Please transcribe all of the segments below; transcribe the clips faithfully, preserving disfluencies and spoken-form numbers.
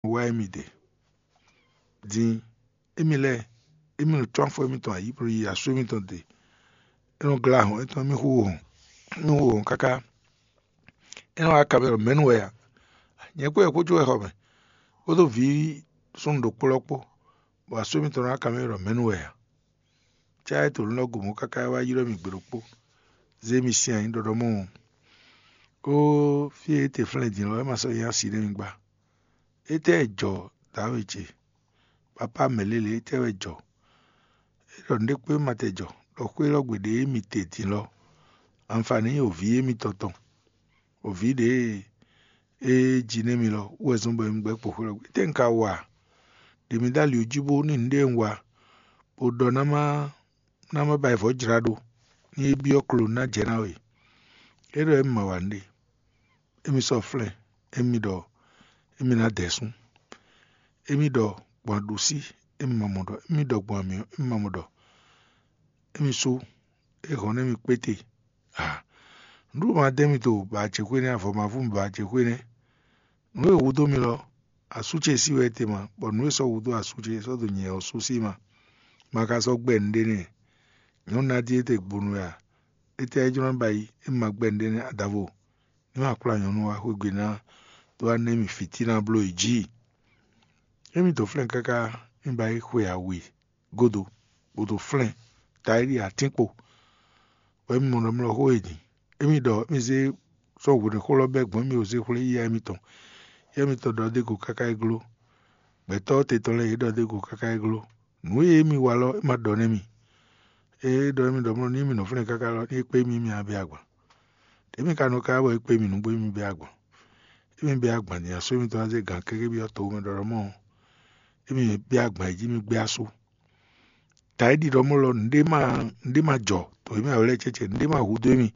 wá émí ɖe. Din émí lɛ́ɛ, émí nɔ cɔ́n afɔ émítɔn ayǐ bó yi asú émítɔn ɖe. É nɔ glá hɔn étɔn mì xú hɔn, mì xú hɔn káká. É nɔ wá ka mɛ ɖɔ mɛ̌nu wɛ a? Nyɛ kpó wɛ kpó jó wɛ xɔ mɛ, kpódó vǐ súnnu ɖokpó lɔ kpó, bɔ asú émítɔn nɔ wá ka mɛ ɖɔ mɛ̌nu wɛ a? Cá é to nǔ lɔ gu mɔ̌ káká é wá ylɔ́ mì gbe ɖokpó, zé mì sin ayǐ ɖɔɖɔmɔ́ ɔ́. Ó, fí e é te flɛ́n din lɔ, é ma sɔ́ nyí asi nɛ́ mi gbá. Étɛ́ wɛ jɔ dǎwe ce? Papá mɛ̌ lélě, étɛ́ wɛ jɔ? É ɖɔ nǔɖé kpé ma tɛ jɔ, ɖɔ xwé élɔ́ gbe ɖě mi te din lɔ, anfaní nyí òví émítɔn tɔn. Òví ɖě e é ji nú émí lɔ wú wɛ zɔ́n bɔ émí gbɛ́ kpo xwé lɔ gbe. Étɛ́ un ka wa? Ɖe mi ɖó ali jí bó ní nǔɖé un wa, bó ɖɔ ná má ná má ba vɔ̌ jlá ɖó, ní é byɔ́ klo ná jɛ ná we. É ɖɔ émí ma wa nǔɖé. Émí sɔ́ flɛ́n, émí ɖɔ émí ná dɛ̌ sún. Émí ɖɔ gbɔn aɖusí, émí ma mɔ ɖɔ. Émí ɖɔ gbɔn amyɔ, émí ma mɔ ɖɔ. Émí sú, é hɔn nú émí kpéte. A nǔɖuɖu ma dɛ́ mi to bǎ ce xwé nɛ́, avɔ ma vú mi bǎ ce xwé nɛ́. Nǔ e hudó mi lɔ, asú ce sí wɛ é te ma, bɔ nǔ e sɔ́ hudó asú ce é sɔ́ dó nyɛ ɔ́ sú sí ma. Ma ka sɔ́ gbɛ nǔɖé nɛ́. Nyɔ̌nu ná dín étɛ́ gbonu wɛ a? Étɛ́ é jló ná ba yi, é ma gbɛ nǔɖé nɛ́ adavo? Ní ma kplá nyɔ̌nu wá xwé gbe ná dó wá ná émí fǐtíná bló yě jí. Émí dǒ flɛ́n káká, émí ba yi xwe awe gúdo, bó dó flɛ́n ta e ɖi atínkpo, bɔ émí mɔ ɖɔ mlɔ́ xó e din. Émí ɖɔ émí zé sɔ́ hwenu xó lɔ bɛ́ gbɔn émí o zé xwlé yíyá émítɔn. Yíyá émítɔn ɖɔ dó go káká é gló. Gbɛtɔ́ te tɔn lɛ́ɛ yě ɖɔ dó go káká é gló. Nǔ e émí wa lɔ é ma ɖɔ nú émí. Ée é ɖɔ émí ɖɔ mlɔ́ nú émí nɔ flɛ́n káká lɔ, ní é kpé émí émí ná bɛ́ agban. Émí ka nɔ ka wɛ é kpé émí nǔgbó émí bɛ́ agban. Émí bɛ́ agban din asú émítɔn ná zé gǎn kéké byɔ́ to mɛ ɖɔɖɔmɔ́ ɔ́, émí bɛ́ agban yi jí mì gbé asú. Ta é ɖi ɖɔ mɔ́ lɔ nǔɖé ma nǔɖé ma jɔ to e mɛ wɛ lɛ́ɛ cɛ́cɛ, nǔɖé ma hudó émí.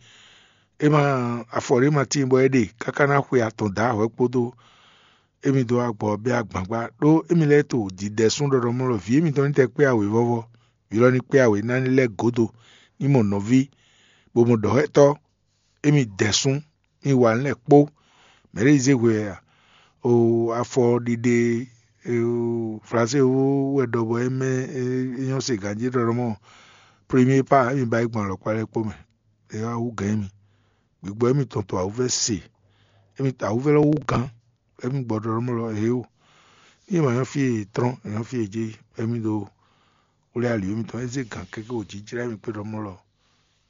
É ma afɔ ɖé ma tíin bɔ é ɖe káká ná xwe atɔn dǎ hwɛ̌ kpódó émí dó agbɔ bɛ́ agban gbá, ɖó émí lɛ́ɛ to dǐdɛ́ sún ɖɔɖɔmɔ́ lɔ vǐ émítɔn ní tɛ kpé awě vɔ́vɔ́, vǐ lɔ ní kpé awě ná ní lɛ́ gǒdo ní mɔ nɔví, bó mɔ ɖɔ̌xɛ́tɔ́, émí dɛ̌ sún, mì wa nǔ lɛ́ɛ kpó. Mɛ̌ ɖě zé hwe wɛ a? O afɔ ɖiɖe Flansée wú wɛ ɖɔ bɔ é mɛ é nyɔ́ se ganjí ɖɔ ɖɔ mɔ premier part émí ba yi gbɔn alɔkpa lɛ́ɛ kpó mɛ. É wá wú gǎn émí. Gbǐgbɔ émítɔn to awǔvɛ́ se. Émí awǔvɛ́ lɔ wú gǎn, émí gbɔ ɖɔ ɖɔ mɔ lɔ ě o. Ní ma nyɔ́ fí e trɔ́n, è nyɔ́ fí e jé, émí ɖo xwlé ali émítɔn é zé gǎn kéké wǒ jijlá émí kpé ɖɔ mɔ lɔ.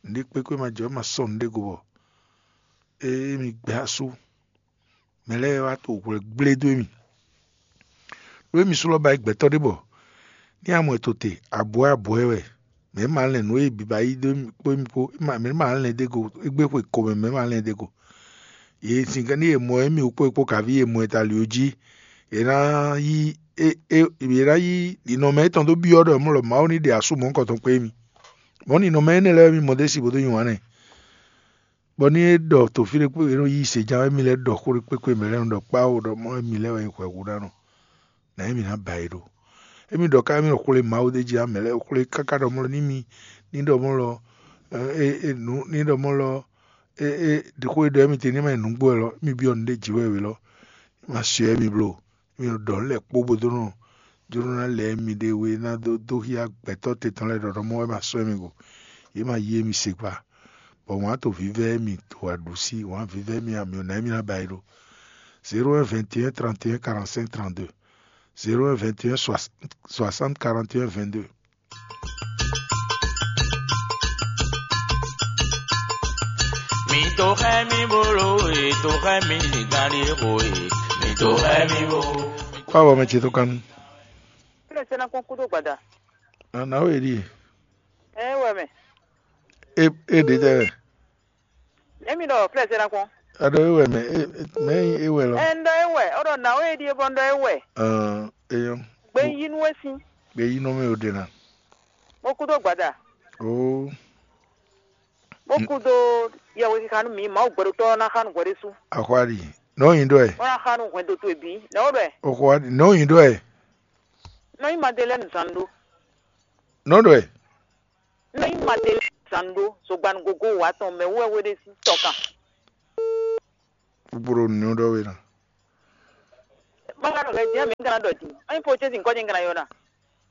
Nǔɖé kpékpé ma jɔ, é ma sɔ́ nǔɖé go bɔ émí gbɛ asú. Mɛ lɛ́ɛ wá to hwlɛ́ gblé dó émí. Ɖó émí sú lɔ ba yi gbɛtɔ́ ɖé bɔ ní amɔ è to te abwɛ̌ abwɛ̌ wɛ, mɛ̌ ma lɛn nǔ e bǐ ba yí dó émí kpó émí kpó, mɛ̌ ma lɛn dó é go égbé xwe ko mɛ, mɛ̌ ma lɛn dó é go. Yě sin ní yě mɔ émí wú kpó é kpó kaví yě mɔ ɛ ta lǐ ó jí, yě ná yí é é yě ná yí ninɔmɛ étɔn dó byɔ́ ɖɔ mɔ̌ lɔ Mawu ní ɖe asú mɔ̌hunkɔtɔn kpé émí. Mɔ̌ ninɔmɛ énɛ́ lɛ́ɛ wɛ mì mɔ ɖ'é sí bó dó nyi wǎn nɛ́. Bɔ ní é ɖɔ to fí ɖé kpé é nɔ yí seján wɛ mì lɛ́ ɖɔ xó ɖé kpékpé mɛ lɛ́ɛ nɔ ɖɔ kpáwó ɖɔ mɔ̌ wɛ mì lɛ́ wɛ nyí hwɛ̌hú ná nɔ. Nǎ émí ná ba yi ɖó. Émí ɖɔ ká émí ɖɔ xwlé Mawu ɖé jí ǎ, mɛ lɛ́ɛ xwlé káká ɖɔ mɔ́ lɔ ní mì ní ɖɔ mɔ́ lɔ é é nǔ ní ɖɔ mɔ́ lɔ é é xó e ɖɔ émí te ní ma nyí nǔgbó wɛ lɔ, émí byɔ́ nǔɖé jǐ wɛ wě lɔ, é ma syɔ émí bló. Émí nɔ ɖɔ nǔ lɛ́ɛ kpó bó dó nɔ jló ná lɛ émí ɖe we ná dó dó xyá gbɛtɔ́ te tɔn lɛ́ɛ ɖɔ ɖɔ mɔ́ wɛ ma sɔ́ émí go. Yě ma yí émí se kpa. Bɔ wǎn to vívɛ́ émí to aɖǔsí, wǎn vívɛ́ émí amyɔ ná émí ná ba yi ɖó. Zéro un vingt et un trente et un quarante cinq trente deux. Zéro un vingt et un soixante quarante et un vingt deux. Mi to xɛ mi bolo e, to xɛ mi gari xo e, mi to xɛ mi bo. Kó abɔ mɛ ce tó kánú. Kí ló ṣe ná kún kúdó gbàdá? Nà ó èɖí. Ẹ wẹ mẹ. É é ɖe tɛ wɛ. Emi ɖɔ flɛsɛ na kpɔn. Aɖɔ é wɛ mɛ é mɛ é wɛ lɔ. Ɛ ŋɖɔ é wɛ, ɔɖɔ na ó èɖí é bɔ ŋɖɔ é wɛ. Ɛn eyɔn. Gbe yí nú é sín. Gbe yí nɔ mɛ o ɖe na. Mo kú dó gbàdá. Oo. Mo kú dó yɛwé kíkà nú mi, Mawu gbɛɖotɔ́ ná xá nú hwɛ ɖésú. Axwa ɖi. Nɔ yin ɖɔ ɛ. Wọ́n ná xá nú hwɛndo towe bǐ. Nɛ ó ɖɔ ɛ. Oxwa ɖi. Nɔ yin ɖɔ ɛ. Nɔ yin Madelɛ́ni zǎn ɖó. Nɔ ɖɔ ɛ. Nɔ yin Madelɛ́ni zǎn ɖó. Zogbanu gogo wǎ tɔn mɛ wú wɛ hwe ɖé sín tɔ kan. Kpukpuru nǔ ɖɔ we ná. Má ka ɖɔ hɛ din, mi ka ná ɖɔ din. Anyi po ce sin kɔ́ ce ka ná yɔ ná.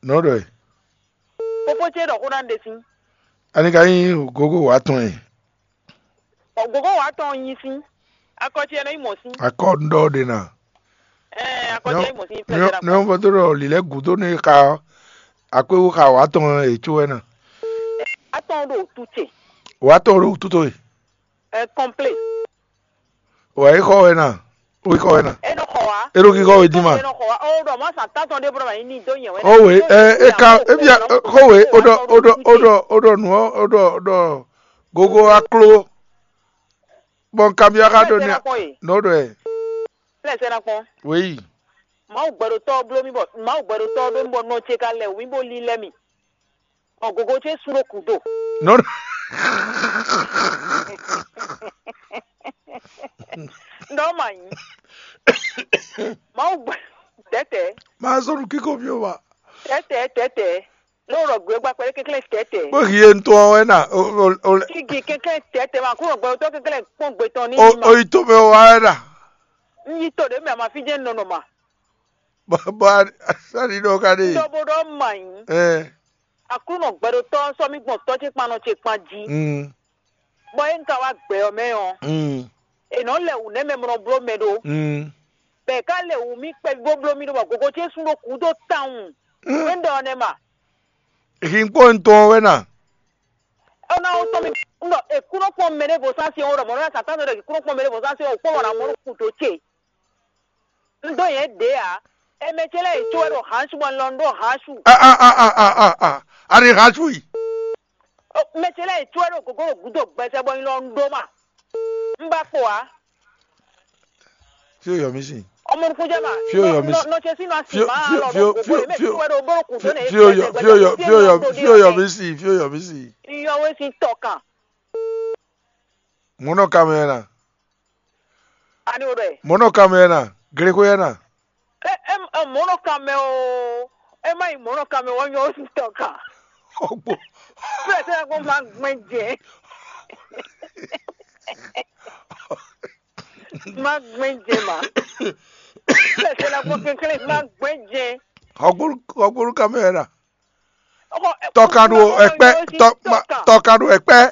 Nɔ ɖɔ ɛ. Popo ce ɖɔ xó ná ɖe sín. Ani ka nyí gogo wǎ tɔn ɛ. Ɔ, gogo wǎ tɔn nyi sín. Akɔ ce nɔ yi mɔ sín. Akɔ ŋɖɔ ɖe na. Ɛɛ, akɔ ce yi mɔ sín. Nɔ fɔ tó ɖɔ lilɛ gúdo ne xa akwéwu xa wǎ tɔn ɛ tso ɛ na. Atɔn ɖo tu ce. Wǎ tɔn ɖo tu to ɛ. Ɛ kɔmple. Wǎ yi xɔ ɛ na. Wí xɔ ɛ na. E nɔ xɔ wa. E ɖo kíkɔ wɛ dín ma. E nɔ xɔ wa. O ɖɔ mɔ san tantɔn ɖe bɔ ma yi ni dó nyɛ wɛ. O we ɛ e ka e bia xɔ we o ɖɔ o ɖɔ o ɖɔ o ɖɔ nu o ɖɔ ɖɔ gogo aklo. Bɔn kanbyɔ́ xá ɖo ní nɔ ɖɔ ɛ. Lɛsɛ na kpɔn. Wéyi. Mawu gbɛɖotɔ́ bló mì bɔ Mawu gbɛɖotɔ́ ɖó mì bɔ nɔ ce ka lɛ wǐ bó lílɛ́ mì. Ɔ gogo ce sú ɖó kúdo. Nɔ ɖɔ. Ndɔ ma nyi. Mawu gbɛ tɛtɛ. Máa sɔ́ nú kíkó mì ó wa. Tɛtɛ tɛtɛ. Ló rɔ gbé gba kpɛɖé kɛnklɛ́n tɛtɛ. Bó hi e ntɔn ɔ́ wɛ na o o o lɛ. Igi kɛnklɛ́n tɛtɛ ma kúrò gbɛɖotɔ́ kɛnklɛ́n kpɔn gbé tɔn ní. O o yi to mɛ wa wɛ na. N yi to ɖě mɛ a ma fí jɛ́n nɔnɔ ma. Bɔ bɔ sani ɖɔ ka ɖe. Dɔbodɔ ma nyi. Ɛ. Aklúnɔ gbɛɖotɔ́ sɔ́ mì gbɔn tɔ́ ce kpan nɔ ce kpan jí. Mm. Bɔ é un ka wá gbɛ ɔ́ mɛ ɔ́, Mm. È nɔ lɛ wǔ nɛ́ mɛ mlɔ bló mɛ ɖó. Mm. Bɔ è ka lɛ wǔ mì kpɛví bó bló mì ɖó bɔ gogo ce sú ɖó kúdó tawun. Mm. É un ɖɔ ɔ́ nɛ́ ma. Hinkpo ntɔn wɛ na. Ɔ́ ná wó tɔ́n mì ɖɔ è kú nɔ kpɔn mɛ ɖěvo sásé ɔ́ ɖɔ mɔ̌ nɔ ná sǎtán ɖɔ è kú nɔ kpɔn mɛ ɖěvo sásé ɔ́ kpɔ́n bɔ ná mɔ nú kúdó ce. Un dó nyɛ ɖě ǎ. Émɛ ce lɛ́ɛ yě có wɛ ɖo hansu bɔ un lɔ un ɖó hansu. A a a a a a a. A ɖe hansu yi. Mɛ ce lɛ́ɛ yě có wɛ ɖo gǒgó ɖo gǔdo gbɛsɛ bɔ un lɔ un ɖó ma. Un ba kpo ǎ. Fí o yɔ mí sin. Ọmọ nukun jẹ́ ma. Fí o yọ mí sin. Nọ ṣe sínú àsì máa lọ bọ̀ kò bọ̀ èmi tí wẹ́n ɖo bọ́rọ̀ kù tó nè. Fí o yọ fí o yọ fí o yọ fí o yọ mí sin fí o yọ mí sin. Iyọ̀ wé sin tọ̀ kan. Mɔnɔ kamɛ na. Ani o ɖɔ ɛ. Mɔnɔ kamɛ na. Glexwe na. Ɛ ɛ mɔnɔ kamɛ o. Ɛ má yi mɔnɔ kamɛ wọ́n yọ ó sin tọ̀ kan. Ọgbọ. Fúlẹ̀ sẹ́yìn kó máa gbọ́n jẹ. Má gbé jẹ mà. Bẹ́ẹ̀ ṣe la gbọ́ kékeré má gbé jẹ. Ọgbọ́n ọgbọ́n kámẹ́rà. Tọ́kadù ẹ̀pẹ́ tọ́kadù ẹ̀pẹ́.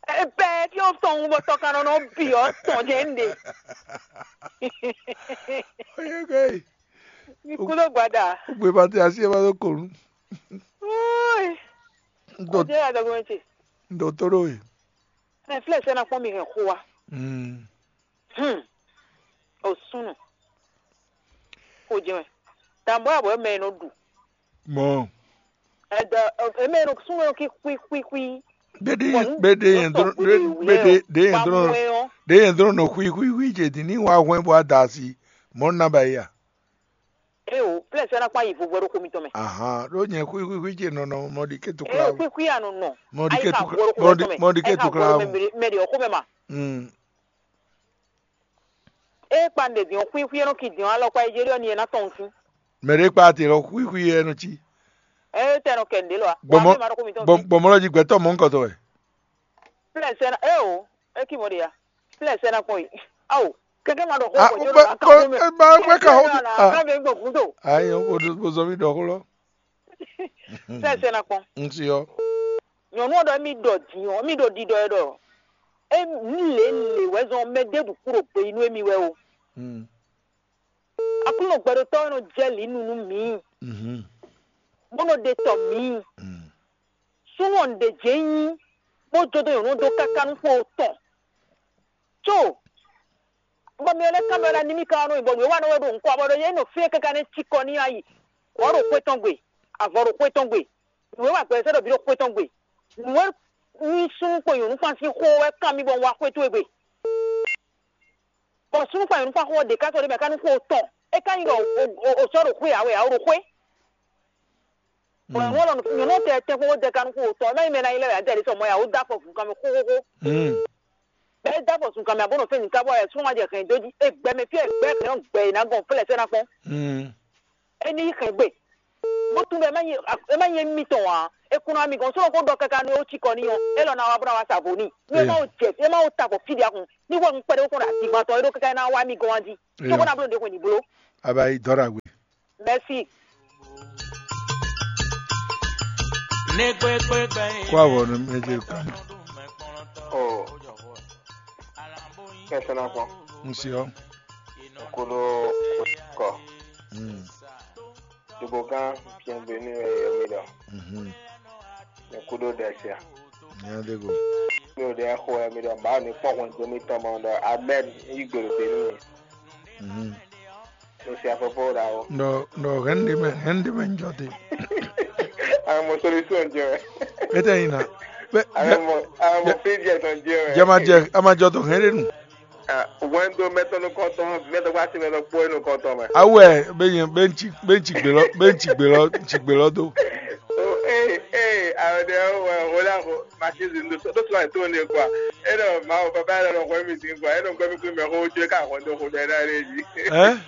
Ẹ̀pẹ́ tí ó tọ̀ ń bọ̀ tọ́kadù náà bì ọ́ tọ̀ jẹ́ ń de. Oyege. Ikú ló gbàdà. Ó gbé bàtí àti ẹ̀ bá tó kòrú. Ó jẹ́ àdàgbọ́n ẹ̀ tì. Ndo toro e. Mɛ flɛ sɛ na kpɔn mi hɛn xo wa. Mm. Hmm. O sunu. Ko jɛ mɛ. Tambɔ abɔ mɛ no du. Mɔ. Ɛdɔ ɛmɛ no sunu no ki kui kui kui. Bede Bɔn bede yɛn dro kɔntɔn bede bede bede yɛn dro Bamwɛ ɔ. De yɛn dro no hui hui hui je di ni wa hwɛ bo adasi. Mɔ na ba ya. Eo, plɛsɛ na kpa yi vo hwɛ ɖo xo mitɔn mɛ. Ahan, ɖó nyɛ xwíxwíxwí ce nɔ nɔ mɔɖi ké tukla. Eo, xwíxwí a nɔ nɔ. Mɔɖi ké tukla. Mɔɖi ké tukla. Mɛ ɖe ɔxó mɛ ma. Mm. E kpa ɖe diɔn xwíxwí e nɔ ki diɔn alɔ kpa yi jeli ɔ ni e na tɔn si. Mɛ ɖe kpa te lɔ xwíxwí e nɔ ci. E tɛ nɔ kɛ nɖe lɔ a. Gbɔmɔ gbɔmɔ lɔ ji gbɛtɔ mɔ nkɔtɔ wɛ. Plɛsɛ na eo, e ki mɔ ɖe ya. Plɛsɛ na kpɔn yi. Awo. Kɛkɛ ma ɖɔ xó Ah, gbɔdɔ be- la be- kan be- be- be- Kan be gbɔ kudo. Ayi, o do bo zɔ mi ɖɔ xó lɔ. Sɛ sɛ na kpɔn. N si yɔ. Nyɔnu ɔ́ ɖɔ mi ɖɔ din ɔ́, mi ɖo ɖiɖɔ ɛ ɖɔ. E mi lě lě wɛ zɔn mɛ ɖěbǔ kú ɖo gbe yi nú émi wɛ o. Mm. Aklúnɔ gbɛɖotɔ́ ɔ́ nɔ jɛ lǐ nu nú mǐ, Mhm. Bó nɔ ɖe tɔ mǐ. Mm. Súnnu ɔ́ ɖe jě nyí, bó jó dó nyɔ̌nu dó káká nú xó tɔn. Có bɔ mi ɔ́ lɛ́ kámɛ ɔ́ ná ní mì ká ɔ́ nɔ nyi bɔ nǔ e wa nɔ wɛ ɖo nukɔn abɔ ɖɔ yě nɔ fí káká nɛ́ cí kɔ n'i ayi. Wǎ ɖo xwé tɔn gbe, avɔ ɖo xwé tɔn gbe. Nǔ e wa gbɛ sɛ́ ɖɔ bǐ ɖo xwé tɔn gbe. Nǔ e nyi súnnu kpo nyɔ̌nu kpán sín xó wɛ kán mì bɔ un wá xwé towe gbe. Bɔ súnnu kpán nyɔ̌nu kpán xó ɔ́ ɖě ká sɔ́ ɖ'é mɛ ká nú xó tɔn. É ká nyí ɖɔ o sɔ́ ɖo xwé ǎ wɛ ǎ, o ɖo xwé. Bɔ nyɔ̌nu ɔ́ nyɔ̌nu tɛ tɛ́nkpɔ́n bó dɛ ká nú xó tɔn, é má nyí mɛ ná nyí lɛ́ wɛ ǎ, dɛ ɖě sɔ mɔ ya, ó dó afɔ vǔ kanmɛ xóxóxó. Bɛ́ é dó afɔ zun kanmɛ abó nɔ fɛ́n nǔ ká bɔ wɛ súnnu ma jɛ hɛn dó jí. É gbɛ mɛ fí wɛ gbɛ hɛn ɔ́ gbɛ è nǎ gɔn flɛ́ sɛ́ ná kpɔ́n. É ní yi hɛn gbe. bó tún bɛ é má nyí é má nyí émí tɔn ǎ. É kún ná mi gɔn sɔ́ ko ɖɔ káká nú é wú cikɔ ní ɔ́, é lɔ ná wá bó ná wá sa vo n'i. Nú é má wo jɛ é má wo ta avɔ fí ɖě akun ní hwɛ un kpɛɖé kún ɖo azǐngban tɔn é ɖó káká é ná wá mi gɔn wá jí. Cóbó ná bló nǔɖé hwenu ní bló. Aba yi dɔ́ ɖagbe. Mɛsi. Kó avɔ nú méjèèjì kan. Oh. Kɛsɛnakɔ. N si ɔ. Koɖo kɔ. Hmm. Dugbogan, bienvenue, eh, mi ɖɔ. Mhm. Mi kudo ɖe sia. Nya de go. Mi ɖe xo, eh, mi ɖɔ ba ni kpɔn hɔn do mi tɔn mɔ ɖɔ amen yi gbero be ni. Mhm. Mo sia popo da o. Ndo ndo hende me hende me njɔ te. Amo solution jɔ. Ete ina. Be amo amo fi jɛ tɔn jɔ. Jama jɛ ama jɔ to hende nu. Wɛndo mɛtɔn nukɔntɔn, mɛtɔn kpó asi mɛtɔn kpó nukɔntɔn mɛ. Awɛ be nyɛ be ŋtsi be ŋtsi gbe lɔ be ŋtsi gbe lɔ ŋtsi gbe lɔ do. Ee ee awɛ ɖe wɛ wòle axo machine ɖo ɖo sɔ to ne kua. Enɔ mawu papa yɛ lɔ hwɛ mi sin kua enɔ gbɛ mi kú mɛ xo tso ka hwɛndo xo ɖɛ na ɖe dzi. Ɛ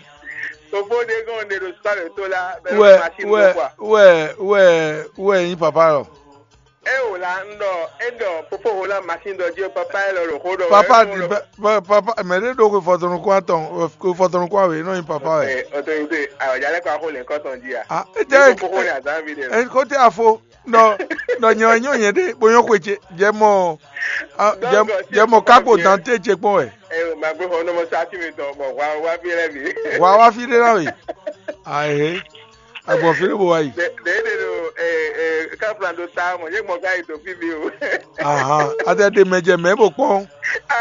Fofo ɖe gɔn ɖe ɖo sɔ le to la bɛ wɛ machine wɛ ɖo kua. Wɛ wɛ wɛ nyi papa lɔ. E wò la un ɖɔ e ɖɔ fofo ho la machine ɖɔ jí papa e lɔ ɖo xó ɖɔ. Papa di papa mɛ ɖe ɖo xwe fɔtɔnukun atɔn xwe fɔtɔnukun awe nɔ nyi papa wɛ. Ɛ autorité awɔdza lɛ kɔ axo lɛ kɔtɔn jí a. Ah ete. Fofo le azan vi de. Ɛ kote afo nɔ nɔ nyɔ nyɔ nyɛ ɖe bo nyɔ xwe ce jɛ mɔ jɛ mɔ kakpo dante ce kpɔn wɛ. Ɛ o ma gbé xɔ nɔmɔ sa ti mi tɔn bɔ wa wa fi lɛ mi. Wa wa fi de la we. Ahe. Agbɔn fí ló bo wá yi. Ɖe ɖe ɖo káfla ɖo ta mɔ yé mɔ ká yi to fí mi o. Ahan, atɛ ɖe mɛ jɛ mɛ bo kpɔn.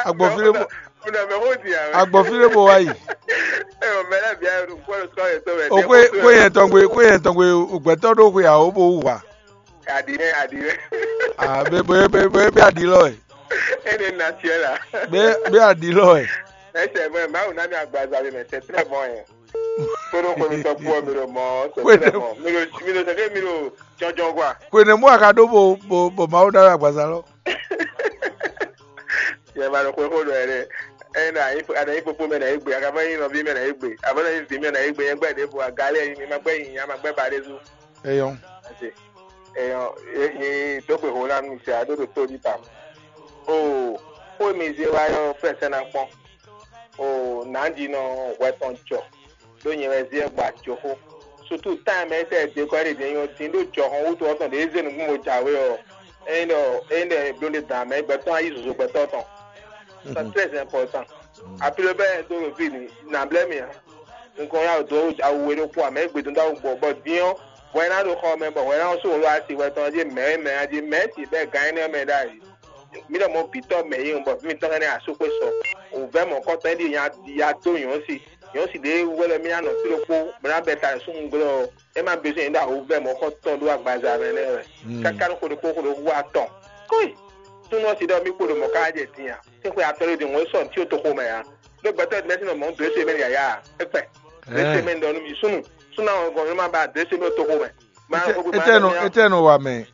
Agbɔn fí ló bo. Unɔ mɛ ko di a. Agbɔn fí ló bo wá yi. Ɛ o mɛ lɛ bia ɖo kpɔ ɖo sɔ yɛ to mɛ. O kwe kwe yɛn tɔn gbe kwe yɛn tɔn gbe o gbɛtɔ ɖo xwe awo bo wú wa. Adi nɛ adi nɛ. Ah be be be be be adi lɔ ɛ. Ene na tiɛ la. Be be adi lɔ ɛ. Ɛsɛ mɛ mawu na mi agbaza mi mɛ c'est très bon yɛ. Kpéɖo xwe mi tɔn kpó mi ɖo mɔ c'est très bon mi ɖo mi ɖo sɛkɛ mi ɖo jɔnjɔn quoi. Kwenemu aka ɖó bo bo bo mawu ɖa agbaza lɔ. Yɛ ma ɖo xwe xo ɖɔ yɛ ɖe. Ɛyɛ na yi ana yi kpokpo mɛ na yi gbe aka ma yi nɔvi mɛ na yi gbe aba na yi vi mɛ na yi gbe yɛ gbɛ ɖe bo agali yɛ yi mi ma gbɛ yi ya ma gbɛ ba ɖe zu. Eyɔn. Ase eyɔn yi dogbe ho na mi se ado ɖo to ɖi tam. O xo mi ze wa yɔ fɛsɛ na kpɔn. O nanjinɔ hwɛ tɔn jɔ ɖó nyɛ wɛ zé gba joxo. Sutu time ɛ tɛ de kɔ ɖe ɖe nyɔ dín ɖó jɔxɔn wútu ɔtɔn ɖe zé nukún mo jǎwe ɔ. Eyin ɖɔ eyin ɖɔ eblo ɖe dan mɛ gbɛtɔ́ ayi zozo gbɛtɔ́ tɔn. C'est très important. Apilo bɛ do ɖo fi ni na blɛ mi a. Nukɔn ya do awu we ɖokpó amɛ egbe dunda awu gbɔ bɔ din ɔ hwɛ na ɖo xɔ mɛ bɔ hwɛ na so wolo asi hwɛ tɔn dzi mɛ mɛ a dzi mɛ si bɛ gan ɛnɛ mɛ ɖ'ayi. Mi ɖɔ mɔ bitɔ mɛ yi bɔ mi tɔn ɛnɛ asu xwe sɔ. O vɛ mɔ kɔtɔ ɛdi ya ya do yɔn si yɔn si ɖe wɛlɛ mi anɔ fi ɖokpó bla bɛ ta sun glɔ e ma besoin ɖo awu vɛ mɔ kɔtɔ ɖo agbaza mɛ nɛ wɛ. Kaka ɖo xo ɖokpó xo ɖokpó atɔn. Koi. Súnú ɔ́ se ɖɔ mì kpo ɖo mɔ̌ ká jɛ din a? Sín xwe atɔ́ ɖé din wɔn é sɔ nǔ cyó toxo mɛ ǎ. Ɖó gbɛtɔ́ ɖě mɛ́ sín nɔ mɔ̌ dǒ é se mɛ yǎyá a? É kpɛ. Dǒ é se mɛ un ɖɔ nú mi súnnu. Súnnu awɔngɔn nú ma ba dǒ é se mɛ ɖo toxo mɛ. Má Etɛ- xó gbé má Etɛ nɔ ɖɔ mì á. Etɛ nɔ wa mɛ.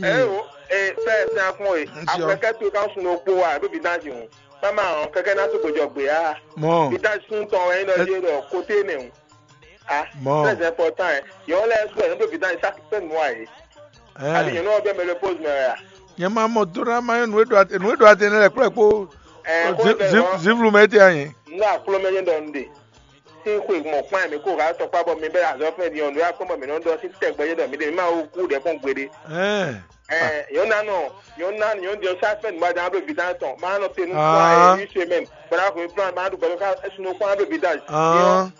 Ɛ o, e fɛ sɛn akpɔn e. Ŋutsu ɔ. Akwɛkɛ to kan sun ɖo kpo wa ɖo vidanji hɔn. Má ma hɔn kɛkɛ ná tó gbedzɔ gbe á. Mɔ. Vidanji sun tɔn wɛ nyí ɖɔ yé ɖɔ kote nɛ o. Ah, Mɔ. Très important ɛ. Yɔn lɛ sɔ yɔn ɖo vidanji sa fɛn nua ye. Ɛ. Adi yɔn nɔ bɛ mɛ le pose mɛ ya. Nyɛ ma mɔ dona ma yɔ nue ɖo ate nue ɖo ate ne lɛ kplɛ kpo. Ɛ, kó bɛ lɔ. Zivlu mɛ te anyi. N ka kplɔ mɛ nyɛ ɖɔ n de. Sín xwe mɔ kpán mɛ kó ha tɔkpá bɔ mi bɛ azɔ fɛn di ɔn ɖo akpɔn bɔ mi nɔ ɖɔ sín tɛgbɛ nyɛ ɖɔ mi ɖe mi ma wo kú ɖɛ kpɔn gbeɖe. Ɛ. Ɛ, yɔn na nɔ yɔn na yɔn di ɔn sa fɛn ma dan bɛ vidan tɔn ma nɔ te nu kpán ɛ une semaine bɔra ko plan ma ɖu bɔra ka esun kpán bɛ vidan.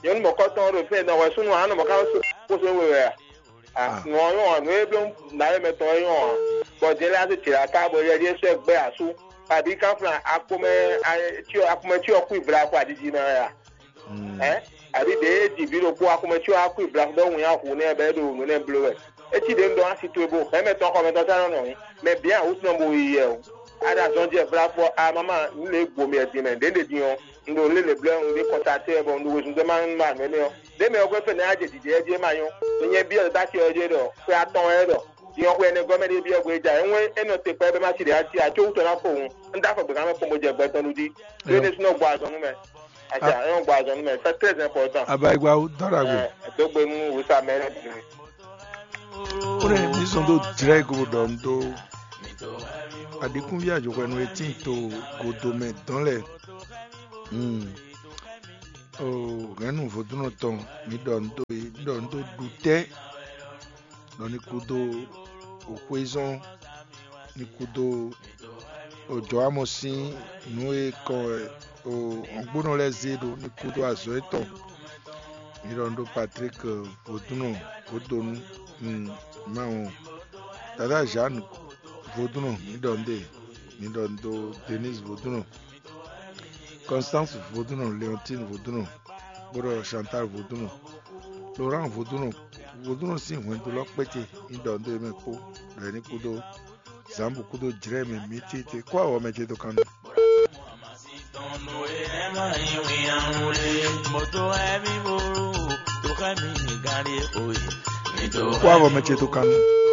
Yɔn mɔ kɔtɔn ɖo fɛn dɔn wɛ sunu anɔ mɔ ka so kó so wɛ wɛ. Ah, nɔ yɔn nɔ e bló na ye mɛ tɔn yɔn. Bɔ jɛ lɛ ase tira ka bɔ yɛ di esɔ gbɛ asu. Abi kan flan akomɛ tiɔ akomɛ tiɔ kui vla ko adidi na ya. Ɛ, abi de e di vi ɖokpó akomɛ tiɔ akui vla dɔ wun ya hu nɛ bɛ do nu nɛ blo wɛ. Eti de ndɔ asi to bo hɛmɛ tɔn xɔmɛ tɔn sa nɔ nɔ. Mɛ bia awu tɔn bo yi yɛ o. Ada zɔn jɛ vla fɔ a mama nu le gbo mi ɛdin mɛ de de din ɔ. Ndo le le blɛ un de kɔntate bɔ un do wezun de ma ma nɛ nɛ ɔ. Ɖe mɛ ɔ́ gbɛ́ fɛnɛ á jɛ jǐjɛ jí é ma nyɔ́. Nyɛ byɔ́ ɖo tá cyɔ jí é ɖɔ xwé atɔn wɛ é ɖɔ. Din ɔ́ xwé ɛnɛ gɔ́ mɛ ɖé byɔ́ gbé ja é ŋwɛ é nɔ te kpɛɖé má ci ɖě á ci acó wútɔ ná fo hǔn. Un dó afɔ gběkan mɛ kpɔ́n bó jɛ gbɛ tɔn ɖu jí. Ɖé ɖésú nɔ gbɔ azɔn nú mɛ. Aca é nɔ gbɔ azɔn nú mɛ. C'est très important. Abayigba dɔn ɖagbe. Ɛ dó gbe nú wǔsa mɛ lɛ́ɛ bǐ. Kónɛ mi sɔn dó jlɛ́ go ɖɔ un dó aɖǐkúnví ajɔxwɛnu e tíin to godomɛ dɔn lɛ. Hmm. O hɛ̌nnu vodúnnɔ tɔn, mi ɖɔ un dó e, mi ɖɔ un dó ɖu tɛ́ ɖɔ ní kúdó òxwézɔn, ní kúdó òjɔwámɔ sín nǔ e kɔ o ɔ̌ngbónɔ lɛ́ɛ zé ɖó ní kúdó azɔ̌ étɔn. Mi ɖɔ un ɖó Patrick vodúnnɔ vodonu mawu, Dada Jeanne vodúnnɔ, mi ɖɔ un ɖe, mi ɖɔ un ɖó Denise vodúnnɔ, Constance vodúnnɔ, Léontine vodúnnɔ, bó ɖɔ Chantal vodúnnɔ, Laurent vodúnnɔ, vodúnnɔ sín hwɛndo lɔ kpéte, mi ɖɔ un ɖó e mɛ kpó, ɖɔ é ní kúdó Zambu kúdó jlɛ̌ mɛ mǐ tete kó awɔ mɛ ce dó kan nú. Kó awɔ mɛ ce dó kan nú.